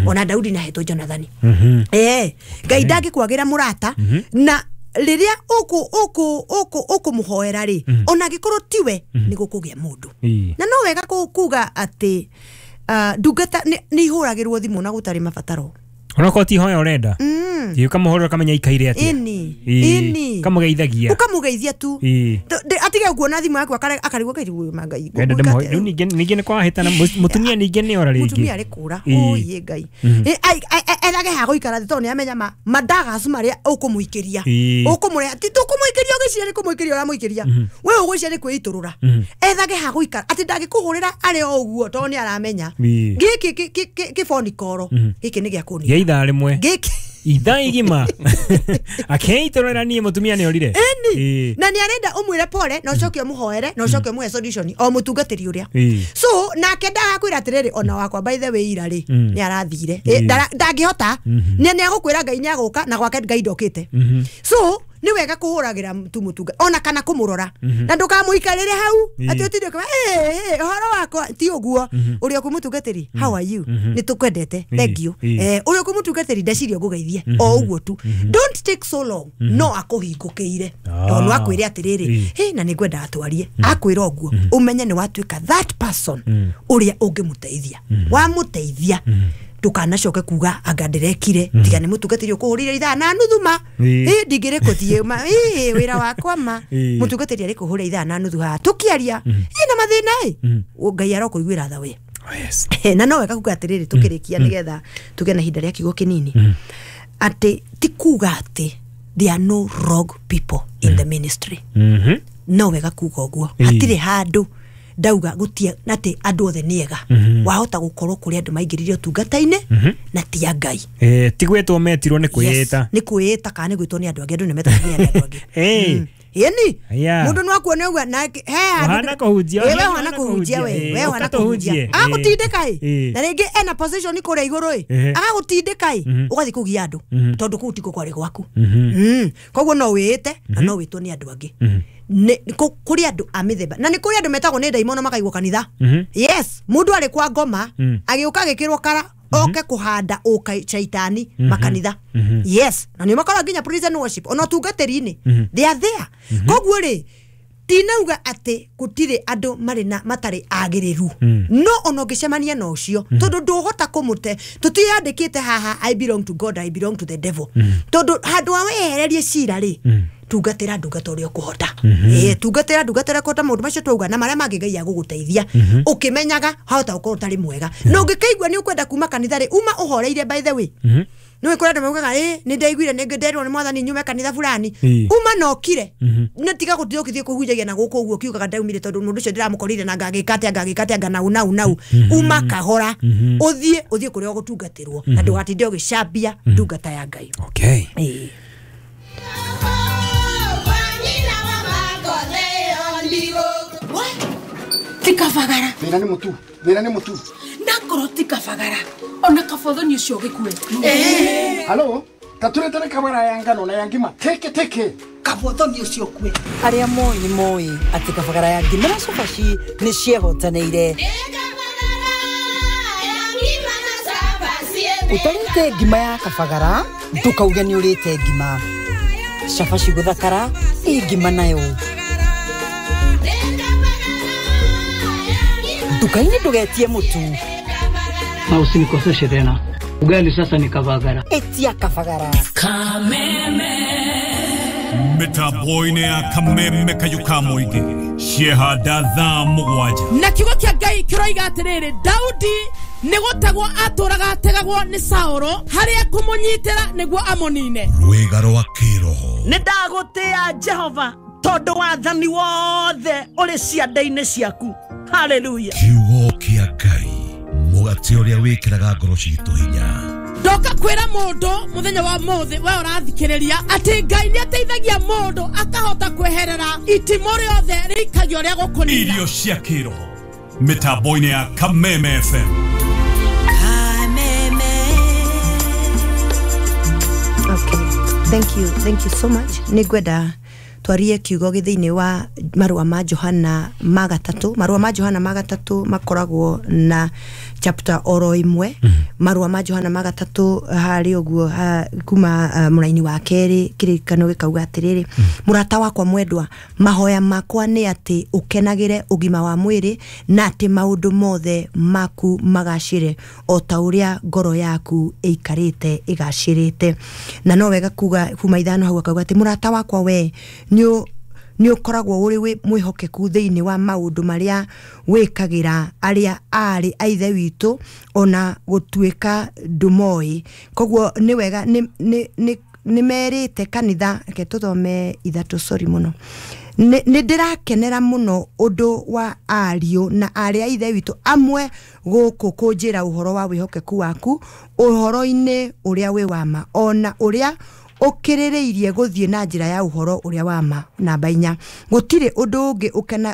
Ona Daudi na hetwo Jonathani. Ngai ndangĩkwagĩra mũrata na rĩrĩa ũkũmũhoera rĩ, ona angĩkorwo tiwe nĩ gũkũgĩa mũndũ. Na no wega kuga atĩ ndungata nĩ ihũragĩrwo thimũ na gũtarĩ mabataro. Onokorwo ti ihoya ũrenda, ũkamũhũrĩra ũkamenya aikaire atĩa. Ĩni. Ũkamũgeithagia. Ũkamũgeithia tu. Atige kuona thimũ yaku akarigwo kairigwo Ngai. Rĩu ningĩ nĩ kwahĩtana mũtumia ningĩ nĩ ora rĩngĩ. Mũtumia arĩ kũra. Ũiĩ Ngai. Ethage ha gũikara thĩ tondũ nĩ amenya mandagacu marĩa ũkũmũikĩria. Ũkũmũrehe ti tũkũmũikĩria ũgĩciria nĩ kũmũikĩria ũramũikĩria. We ũgwĩciria nĩ kwĩitũrũra. Ethage ha gũikara atĩ ndangĩkũhũrĩra arĩ o ũguo tondũ nĩ aramenya. Gĩkĩ kĩboni koro gĩkĩ nĩ gĩa kũnina. Ithaa rĩmwe ithaa igima akeitorera niĩ mũtumia nĩ orire. Ĩni na nĩ arenda ũmwĩre pole na ũcoke ũmũhoere na ũcoke ũmũhe solution o mũtungatĩri ũrĩa. So nake ndagakwĩra atĩrĩrĩ ona wakwa by the way ira rĩ nĩ arathire ndangĩhota nĩ agũkwĩra Ngai nĩ agũka na gwake Ngai ndokĩte. So nĩ wega kũhũragĩra tu mũtunga ona kana kũmũrora na ndũkamũikarĩre hau atĩ ũtinde ũkiuga ũhoro wakwa ti ũguo. Ũrĩa ũkũmũtungatĩri how are you, nĩ tũkwendete, thank you. Ũrĩa ũkũmũtungatĩri ndeciria ngũgeithie o ũguo tu. Don't take so long, no akũhingũkĩire tondũ akwĩre atĩrĩrĩ hĩ na nĩ ngwenda atwarie akwĩra ũguo ũmenye nĩ watuĩka that person ũrĩa ũngĩmũteithia. Wamũteithia ndũkanacoke kuga anga ndĩrekire tiga nĩ mũtungatĩri ũkũhũrĩire ithaa na nuthu ma ndingĩrĩ kũthiĩ ma wĩra wakwa ma mũtungatĩri arĩ kũhũra ithaa na nuthu haha tũkĩaria ĩna mathĩna ĩ Ngai arokũiguĩra tha we. Na no wega kuga atĩrĩrĩ tũkĩrĩkia nĩgetha tũgĩe na ihinda rĩa kiugo kĩnini atĩ ti kuga atĩ there are no wrong people in the ministry. No wega kuga ũguo hatirĩ handũ ndauga gutia atĩ andũ othe nĩ ega. Wahota gũkorwo kũrĩ andũ maingĩrire ũtungata-inĩ na ti a Ngai. Ti gwĩtwo metirwo nĩ kwĩĩta. Nĩ kwĩĩta kana nĩ gwĩtwo nĩ andũ angĩ, andũ nĩ metagwo nĩ andũ angĩ. Ĩni mũndũ no akuone ũguo na he handũ kũhunjia. We wana kũhunjia we wana kũhunjia agagũtindĩka ĩ na rĩngĩ ena position kũrĩa igũrũ ĩ agagũtindĩka ĩ ũgathiĩ kũgia andũ tondũ kũu tikuo kwarĩ gwaku. Koguo no wĩĩte na no wĩtwo nĩ andũ angĩ. Kũrĩ andũ a mĩthemba na nĩ kũrĩ andũ metagwo nĩ ndaimono makaigwo kanitha. Yes, mũndũ arĩ kwa ngoma agĩũka agĩkĩrwo kara oke kũhanda ũka shaitani makanitha. Yes, na nĩ makoragwo nginya prison worship ona ũtungatĩri-inĩ they are there. Koguo rĩ tinauga atĩ gũtirĩ andũ marĩ na matarĩ agĩrĩru no ona ũngĩcemania na ũcio tondũ ndũhota kũmũte tũtiandĩkĩte haha I belong to God, I belong to the devil. Tondũ handũ ha wehererie cira rĩ tungatĩra ndungata ũrĩa ũkũhota. Tungatĩra ndungata ũrĩa ũkũhota maũndũ macio twauga na marĩa mangĩ Ngai agũgũteithia ũkĩmenyaga hahota gũkorwo ũtarĩ mwega. Na ũngĩkĩigua nĩ ũkwenda kuma kanitha rĩ uma ũhoreire by the way. Nĩ kũrĩ andũ maugaga nĩ ndaiguire nĩ nderwo nĩ mwathani nyume kanitha fulani uma na ũkire nĩ tiga gũthiĩ ũkĩthiĩ kũhunjagia na gũkũ ũguo ũkiugaga ndaumire tondũ mũndũ ũcio ndĩramũkorire na ngagĩka atĩa ngagĩka atĩa nau nau nau. Uma kahora ũthiĩ ũthiĩ kũrĩa ũgũtungatĩrwo na ndũgatinde ũgĩcambia ndungata ya Ngai. Okay. Tikabagara. Thĩna nĩ mũtu. Thĩna nĩ mũtu. Ndakorwo tikabagara. Ona kabothoni ũcio gĩkue. Halo, taturetere kabara ya ngano na ya ngima. Teke teke. Kabothoni ũcio kue. Arĩa moĩ nĩ moĩ atĩ kabagara ya ngima na cabaci nĩ ciehotanĩire. Ũtarĩte ngima ya kabagara ndũkauge nĩ ũrĩte ngima. Cabaci gũthakara ĩ ngima nayo. Nduka-inĩ ndũgetie mũtu. Na usinikoseshe tena. Ugali sasa ni kabagara. Etia kabagara. Kameme. Mĩtambo-inĩ ya Kameme kayuka mũingĩ ciehanda thaa 7. Na kiugo kĩa Ngai kĩroiga atĩrĩrĩ Daudi nĩ gũtegwo atũraga ategagwo nĩ Saũlũ harĩa kũmũnyitĩra nĩguo amũnine. Rwĩga rwa kĩroho. Nĩ ndagũtĩa Jehova tondũ wathani wothe ũrĩ ciande-inĩ ciaku. Hallelujah. Kiugo kĩa Ngai mũgate ũrĩa wĩkĩraga ngoro citũ hinya. Ndoka kwĩra mũndũ mũthenya wa mũthĩ we ũrathikĩrĩria atĩ Ngai nĩ ateithagia mũndũ akahota kweherera itimũ rĩothe rĩikagio rĩa gũkũnina. Irio cia kĩroho mĩtambo-inĩ ya Kameme FM. Kameme. Okay. Thank you. Thank you so much. Nĩ ngwenda twarie kiugo gĩ thĩinĩ wa marũa ma Johana ma gatatũ. Marũa ma Johana ma gatatũ makoragwo na chapter oro imwe marua ma Johana magatatu hari uguo kuma muraini wa keri kirikano gikauga atiriri murata wakwa mwendwa mahoya makwa ni ati ukenagire ugima wa mwiri na ati maundu mothe maku magacire o ta uria ngoro yaku ikarite igacirite. Na no wega kuga kuma ithano hau akauga ati murata wakwa we ni ukoragwo uri mwihokeku thiini wa maundu maria wikagira aria ari aithe witu ona gutuika ndumoi. Koguo ni wega ni merite kanitha reke tuthome ithatu sorry muno. Ni ndirakenera muno undu wa ariu na aria ithe witu amwe guku kunjira uhoro wa wihokeku waku uhoro-ini uria wi wama ona uria ukiririirie guthie na njira ya uhoro uria wama. Namba 4 gutire undu ungi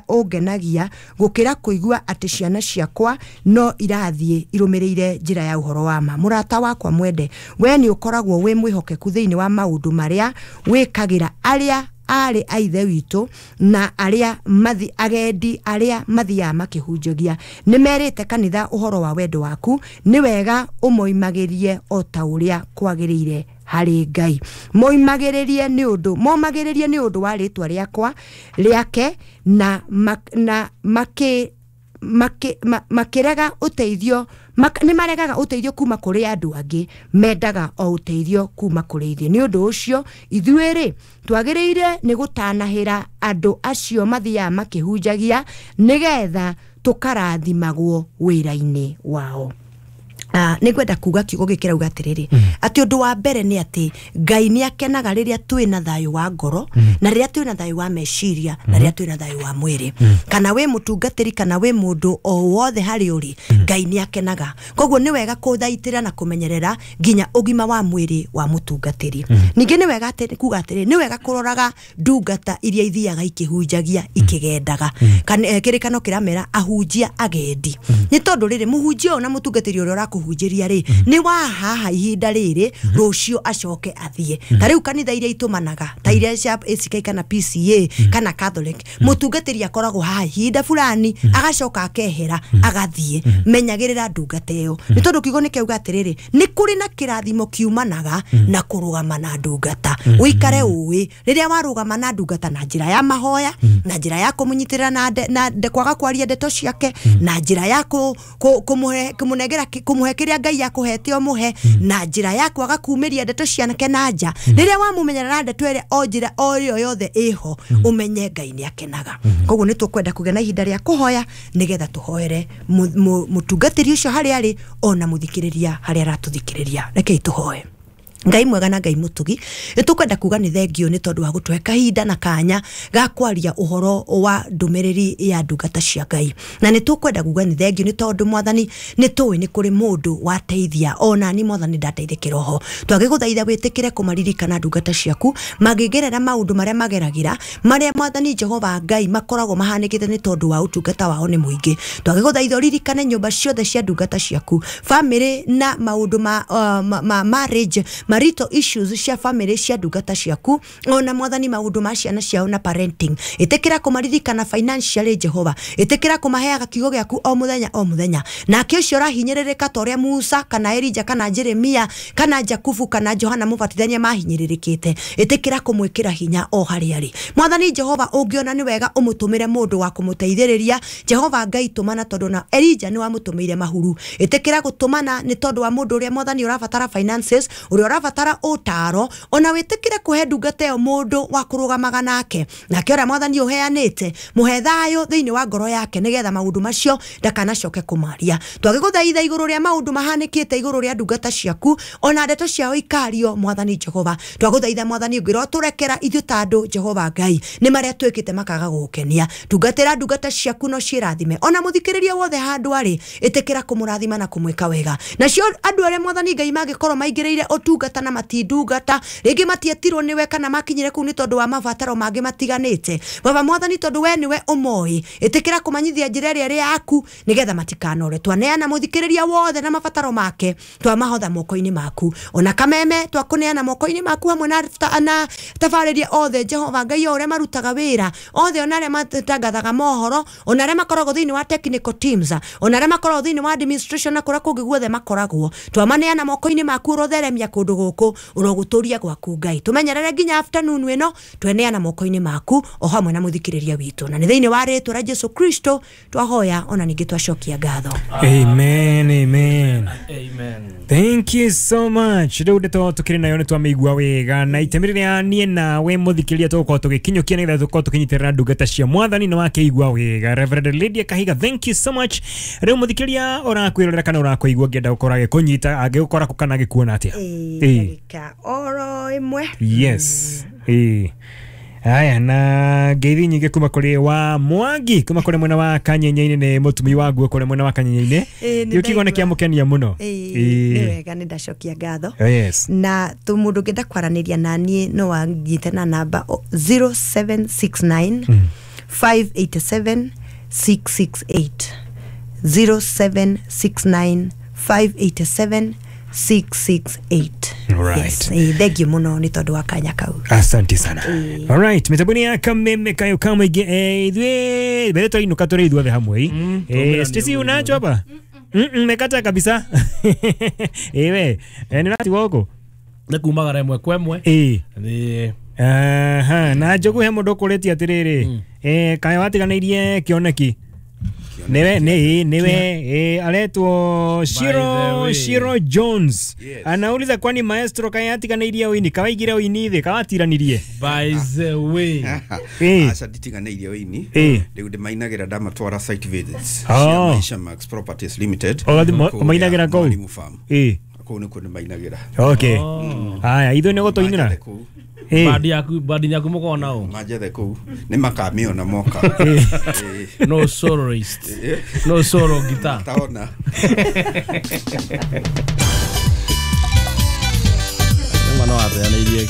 ungenagia gukira kuigua ati ciana ciakwa no irathie irumiriire njira ya uhoro wama. Murata wakwa mwende we ni ukoragwo wi mwihokeku thiini wa maundu maria wikagira aria ari aithe witu na aria mathi agendi aria mathiaga makihunjagia. Ni merite kanitha uhoro wa wendo waku ni wega umoimagirie o ta uria kwagiriire hari Ngai. Moimagiririe ni undu momagiririe ni undu wa ritwa riakwa riake na makirega uteithio ni maregaga uteithio kuma kuri andu angi mendaga o uteithio kuma kuri ithuĩ. Ni undu ucio ithuĩ ri twagiriire ni gutanahira andu acio mathiaga makihunjagia nigetha tukarathimagwo wira-ini wao. Nĩngwenda kuga kiugo gĩkĩrauga atĩrĩrĩ atĩ ũndũ wa mbere nĩ atĩ Ngai nĩ akenaga rĩrĩa twĩna thayũ wa ngoro na rĩrĩa twĩna thayũ wa meciria na rĩrĩa twĩna thayũ wa mwĩrĩ. Kana wĩ mũtungatĩri kana wĩ mũndũ o wothe harĩ ũrĩ Ngai nĩ akenaga. Koguo nĩ wega kũthaitĩra na kũmenyerera nginya ũgima wa mwĩrĩ wa mũtungatĩri. Ningĩ nĩ wega kuga atĩrĩ nĩ wega kũroraga ndungata iria ithiaga ikĩhunjagia ikĩgendaga. Kĩrĩkano kĩramera ahunjia agendi nĩ tondũ rĩrĩ mũhunjia ũyũ na mũtungatĩri ũrĩa ũrakũhunjĩria rĩ nĩ wa haha ihinda rĩrĩ rũciũ acoke athiĩ. Ta rĩu kanitha iria itũmanaga ta iria cia ACK kana PCA kana Catholic mũtungatĩri akoragwo haha ihinda fulani agacoka akehera agathiĩ. Menyagĩrĩra ndungata ĩyo nĩ tondũ kiugo nĩ kĩauga atĩrĩrĩ nĩ kũrĩ na kĩrathimo kiumanaga na kũrũgama na ndungata. Ũikare ũĩ rĩrĩa warũgama na ndungata na njĩra ya mahoya na njĩra ya kũmũnyitĩrĩra na kwaga kwaria ndeto ciake na njĩra ya kũmũnengera kũmũhe kĩrĩa Ngai akũhete ũmũhe na njĩra ya kwaga kumĩria ndeto cianake na nja. Rĩrĩa wamumenyerera ndeto ĩrĩa o njĩra o ĩyo yothe ĩho ũmenye Ngai nĩ akenaga. Koguo nĩ tũkwenda kũgĩa na ihinda rĩa kũhoya nĩgetha tũhoere mũtungatĩri ũcio harĩa arĩ ona mũthikĩrĩria harĩa aratũthikĩrĩria. Rekei tũhoe. Ngai mwega na Ngai mutugi nitukwenda kuga ni thengio ni tondu wa gutwe kahinda na kanya ga kwaria uhoro wa ndumiriri ya ndungata cia Ngai na nitukwenda kuga ni thengio ni tondu mwathani ni tuwi ni kuri mundu wateithia ona ni mwathani ndateithikira ho twagiguthaitha witikire kumaririkana ndungata ciaku magigerera maundu maria mageragira maria mwathani Jehova Ngai makoragwo mahanikite ni tondu wa utungata wao ni muingi twagiguthaitha uririkane nyumba ciothe cia ndungata ciaku family na maundu ma marriage marital issues cia family cia ndungata ciaku ona mwathani maundu ma ciana ciao na parenting itikira kumaririkana financially Jehova itikira kumaheaga kiugo giaku o muthenya o muthenya nake ucio urahinyĩrĩrĩka ta ũrĩa Musa kana Elija kana Jeremia kana Jakubu kana Johana Mũbatithania mahinyĩrĩrĩkĩte itikira kumwĩkĩra hinya o harĩa arĩ mwathani Jehova ũngĩona nĩ wega ũmũtũmĩre mũndũ wa kũmũteithĩrĩria Jehova Ngai tũmana tondũ na Elija nĩ wamũtũmĩire mahuru itikira gũtũmana nĩ tondũ wa mũndũ ũrĩa mwathani ũrabatara finances ũrĩa ũrabatara ũtaro ona wĩtĩkĩre kũhe ndungata ĩyo mũndũ wa kũrũgamaga nake nake ũrĩa mwathani ũheanĩte mũhe thayũ thĩinĩ wa ngoro yake nĩgetha maũndũ macio ndakanacoke kũmaria twagĩgũthaitha igũrũ rĩa maũndũ mahanĩkĩte igũrũ rĩa ndungata ciaku ona ndeto ciao ikario mwathani Jehova twagũthaitha mwathani ũngĩrwo tũrekera ithuĩ ta andũ Jehova Ngai nĩ marĩa twĩkĩte makaga gũgũkenia tungatĩra ndungata ciaku no ciĩrathime ona mũthikĩrĩria wothe handũ arĩ ĩtĩkĩra kũmũrathima na kũmwĩka wega nacio andũ arĩa mwathani Ngai mangĩkorwo maingĩrĩire ũtungata ndungata na matindungata rĩngĩ matietirwo nĩwe kana makinyire kũu nĩ tondũ wa mabataro mangĩ matiganĩte. Baba mwathani tondũ we nĩwe ũmoĩ, ĩtĩkĩra kũmanyithia njĩra ĩrĩa ĩrĩ yaku nĩgetha matikanore. Twaneana mũthikĩrĩria wothe na mabataro make, twamahotha moko-inĩ maku, ona kameme twakũneana moko-inĩ maku hamwe na tabarĩria othe Jehova Ngai o ũrĩa marutaga wĩra othe, ona arĩa matangathaga mohoro, ona arĩa makoragwo thĩinĩ wa technical teams, ona arĩa makoragwo thĩinĩ wa administration na kũrĩa kũngĩ guothe makoragwo, twamaneana moko-inĩ maku. Ũrotheremia kũndũ gũkũ, ũrogũtũria gwaku Ngai, tũmenyerere nginya afternoon ĩno, tweneana moko-inĩ maku o hamwe na mũthikĩrĩria witũ, na nĩ thĩinĩ wa rĩtwa rĩa Jesu Kristo twahoya ona ningĩ twacokia ngatho. Amen, amen. Amen. Thank you so much. Rĩu ndeto tũkĩrĩ nayo nĩ twamĩigua wega, na itemi rĩrĩa niĩ nawe mũthikĩrĩria tũgũkorwo tũgĩkinyũkia nĩgetha tũkorwo tũkĩnyitĩrĩra ndungata cia mwathani nĩ wakĩigua wega. Reverend Lydia Kahiga, thank you so much. Rĩu mũthikĩrĩria ũrakwĩrorera kana ũrakũigua ngĩenda gũkorwo agĩkũnyita, angĩgũkora kũ kana agĩkuona atĩa? Ndagĩka oro ĩmwe. Yes. Aya, na ngeithi nyingĩ kuma kũrĩ wa Mwangi kuma kũrĩ mwena wa Kanyenye-inĩ, nĩ mũtumi wa nguo kũrĩ mwena wa Kanyenye-inĩ. Nĩ Gĩũ kiugo nĩ ndaigua. kĩamũkenia mũno. Nĩ wega, nĩ ndacokia ngatho. Yes. Na tu mũndũ ũngĩenda kwaranĩria na niĩ no anjite na namba 0769 587 668, 0769 587 668. Alright. Yes, thank you mũno nĩ tondũ wa kanya kau. Asante sana. Alright, mitabuni ya kameme kayo kama ige ithuĩ mbere twainuka tũrĩ ithuothe hamwe. Stacy unacho hapa? Mekata kabisa. Ewe, nĩ ũratigwo gũkũ? Nĩ kumagara ĩmwe kwa ĩmwe. Nĩ Aha, na njogu he mũndũ ũkũrĩtie atĩrĩrĩ, kaĩ watiganĩirie kĩoneki? Niwe niwe aretwo Shiro Jones. Anauliza kwani maestro kaĩ atiganĩirie ũini, kawaigire ũini thĩ, kawatiranirie? By the way. Aca nditiganĩirie ũini, rĩu ndĩmainagĩra ndamatwara site visits cia Maisha Max Properties Limited. Ũgathiĩ ũmainagĩra kũu? Mwalimu Farm. Kũu nĩkuo ndĩmainagĩra. Okay. Haya, ithuĩ nĩ gũtũinĩra? Bandi yaku mũkoragwo nao? Manjethe kũu nĩ makamĩona moka. No soloist. No solo guitar. Taona. Mwana wateanĩirie